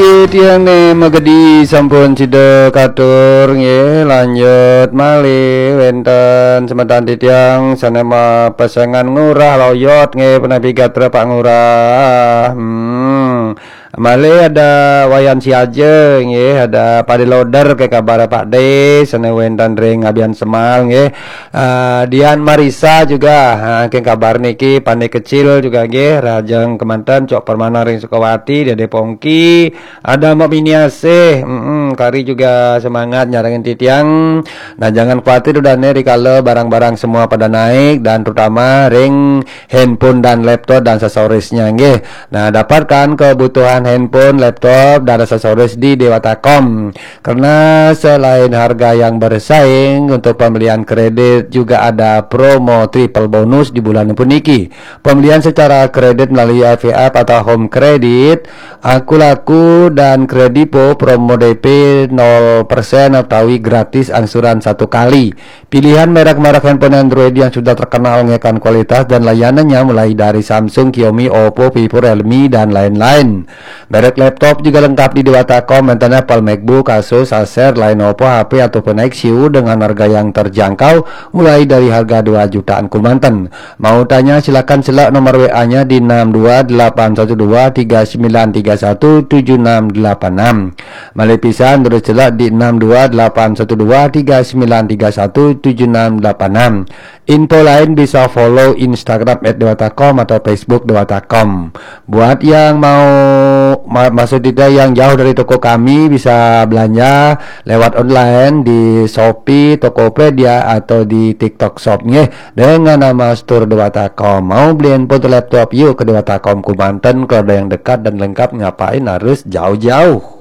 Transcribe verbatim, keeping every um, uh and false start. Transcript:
Titiang ni magedi sampun sida katur nggih, lanjut malih wenten semeton titiang sane mapesengan Ngurah Loyot nggih, punapi gatra Pak Ngurah. Hmm. Malih ada Wayan Siaja nggih, ada Pade Loder ke kabar Pak De, sane wenten ring Abian Semal nggih. Ah, Dian Marisa juga, ha, ke kabar niki Pande Kecil juga nggih, rajeng kemanten Cok Permana ring Sukawati, Dede Pongki, ada Mbok Mini Asih, mm-mm, kari juga semangat nyarengin titiang. Nah, jangan khawatir udah nih, rikala barang-barang semua pada naik dan terutama ring handphone dan laptop dan aksesorisnya nggih. Nah, dapatkan kebutuhan handphone, laptop dan aksesoris di Dewata Com. Karena selain harga yang bersaing, untuk pembelian kredit juga ada promo triple bonus di bulan puniki. Pembelian secara kredit melalui L V F atau Home Credit, Aku Laku dan Kredivo, promo D P nol persen utawi gratis angsuran satu kali. Pilihan merek-merek handphone Android yang sudah terkenal ngekan kualitas dan layanannya mulai dari Samsung, Xiaomi, Oppo, Vivo, Realme, dan lain-lain. Merek laptop juga lengkap di Dewata Com, enten Apple, MacBook, Asus, Acer, Lenovo, H P, ataupun Axioo dengan harga yang terjangkau, mulai dari harga dua jutaan kemanten. Mau tanya, silakan selak nomor W A-nya di enam dua delapan satu dua tiga sembilan tiga satu tujuh enam delapan enam. Malih pisan, terus selak di enam dua delapan satu dua tiga sembilan tiga satu tujuh enam delapan enam. Info lain bisa follow Instagram at dewata com atau Facebook Dewata Com. Buat yang mau ma- maksud kita yang jauh dari toko kami, bisa belanja lewat online di Shopee, Tokopedia, atau di TikTok Shop nggih, dengan nama Store Dewata Com. Mau beli handphone atau laptop, yuk ke Dewata Com kemanten. Kalau ada yang dekat dan lengkap, ngapain harus jauh-jauh?